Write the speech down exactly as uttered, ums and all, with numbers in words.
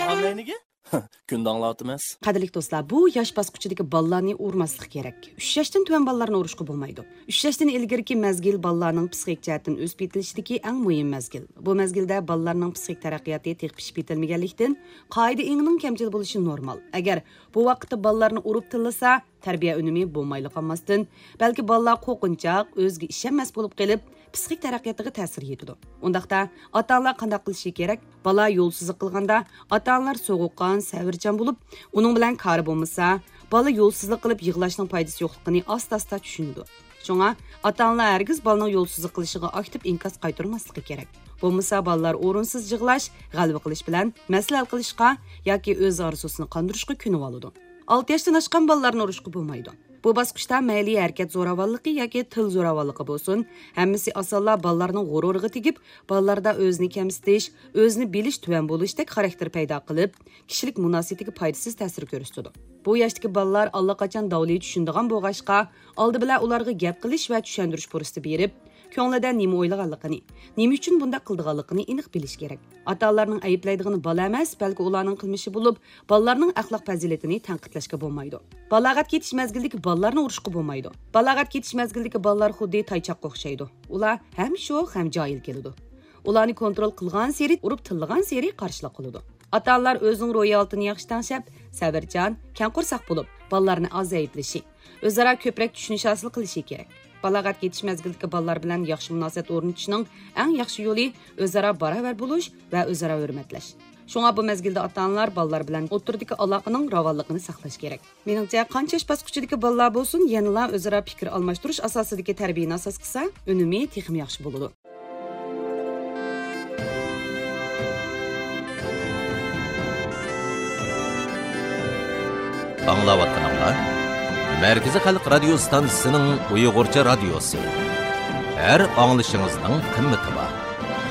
ئاڭلاينىگە؟ كۈندە ئاڭلاۋاتىمىز. قەدىرلىك دوستلار، بۇ ياش باسقۇچىدىكى بالىلارنى ئۇرماسلىق كېرەك. ئۈچ ياشتىن تۆۋەن بالىلارنى ئۇرۇشقا بولمايدۇ. ئۈچ ياشتىن ئىلگىرىكى مەزگىل بالىلارنىڭ پسىخىك جەھەتتىن ئۆسۈپ يېتىلىشىدىكى ئەڭ مۇھىم مەزگىل. بۇ مەزگىلدە بالىلارنىڭ پسىخىك تەرەققىياتى تېخى پىشىپ يېتىلمىگەنلىكتىن، قائىدە ئېڭىنىڭ كەمچىل بولۇشى نورمال. ئەگەر بۇ ۋاقىتتا بالىلارنى ئۇرۇپ تىللىسا، تەربىيە ئۈنۈمى بولمايلا قالماستىن، بەلكى بالىلار قورقۇنچاق، ئۆزىگە ئىشەنمەس بولۇپ قېلىپ، پسىخىك تەرەققىياتىغا تەسىر يېتىدۇ. ئۇنداقتا، ئاتا-ئانىلار قانداق قىلىشى كېرەك؟ بالا يولسىزلىق قىلغاندا، ئاتا-ئانىلار سوغۇققان، سەۋرچان بولۇپ، ئۇنىڭ بىلەن كارى بولمىسا، بالا يولسىزلىق قىلىپ يىغلاشنىڭ پايدىسى يوقلۇقىنى ئاستا-ئاستا چۈشىنىدۇ. شۇڭا، ئاتا-ئانىلار ھەرگىز بالىنىڭ يولسىزلىق قىلىشىغا ئاكتىپ ئىنكاس قايتۇرماسلىقى كېرەك. بولمىسا، بالىلار ئورۇنسىز يىغلاش، غەلۋە قىلىش بىلەن مەسىلە ھەل قىلىشقا ياكى ئۆز ئارزۇسىنى قاندۇرۇشقا كۆنۈۋالىدۇ. ئالتە ياشتىن ئاشقان بالىلارنى ئۇرۇشقا بولمايدۇ. بۇ باسقۇچتا مەيلى ھەرىكەت زوراۋانلىقى ياكى تىل زوراۋانلىقى بولسۇن، ھەممىسى ئاسانلا بالىلارنىڭ غۇرۇرىغا تېگىپ، بالىلاردا ئۆزىنى كەمسىتىش، ئۆزىنى بىلىش تۆۋەن بولۇشتەك خاراكتېر پەيدا قىلىپ، كىشىلىك مۇناسىۋىتىگە پايدىسىز تەسىر كۆرسىتىدۇ. بۇ ياشتىكى بالىلار ئاللىقاچان داۋلى چۈشىنىدىغان بولغاچقا، ئالدى بىلەن ئۇلارغا گەپ قىلىش ۋە چۈشەندۈرۈش پۇرسىتى بېرىپ، كۆڭلىدە نېمە ئويلىغانلىقىنى، نېمە ئۈچۈن بۇنداق قىلىدىغانلىقىنى ئېنىق بىلىش كېرەك. ئاتا-ئانىلارنىڭ ئەيىبلەيدىغىنى بالا ئەمەس، بەلكى ئۇلارنىڭ قىلمىشى بولۇپ، بالىلارنىڭ ئەخلاق پەزىلىتىنى تەنقىدلەشكە بولمايدۇ. بالاغەت كېتىش مەزگىلىدىكى بالىلارنى ئۇرۇشقا بولمايدۇ. بالاغەت كېتىش مەزگىلىدىكى بالىلار خۇددى تايچاققا ئوخشايدۇ. ئۇلار ھەم شوخ، ھەم جاھىل كېلىدۇ. ئۇلارنى كونترول قىلغانسېرى، ئۇرۇپ تىللىغانسېرى قارشىلىق قىلىدۇ. ئاتا-ئانىلار ئۆزىنىڭ روھىي ھالىتىنى ياخشى تەڭشەپ، سەۋرچان، كەڭ قورساق بولۇپ، بالىلارنى ئاز ئەيىبلىشى، ئۆزئارا كۆپرەك چۈشىنىش ھاسىل قىلىشى كېرەك. بالاغەت كېتىش مەزگىلىدىكى بالىلار بىلەن ياخشى مۇناسىۋەت ئورنىتىشنىڭ ئەڭ ياخشى يولى ئۆزئارا باراۋەر بولۇش ۋە ئۆزئارا ھۆرمەتلەش. شۇڭا بۇ مەزگىلدە ئاتا-ئانىلار بالىلار بىلەن ئوتتۇرىدىكى ئالاقىنىڭ راۋانلىقىنى ساقلاش كېرەك. مېنىڭچە، قانچە ياش باسقۇچىدىكى بالىلار بولسۇن، يەنىلا ئۆزئارا پىكىر ئالماشتۇرۇش ئاساسىدىكى تەربىيەنى ئاساس قىلسا، ئۈنۈمى تېخىمۇ ياخشى بولىدۇ. ئاڭلاۋاتقىنىڭلار مەركىزىي خەلق رادىيو ستانسىسىنىڭ ئۇيغۇرچە رادىيوسى. ھەر ئاڭلىشىڭىزنىڭ قىممىتى بار.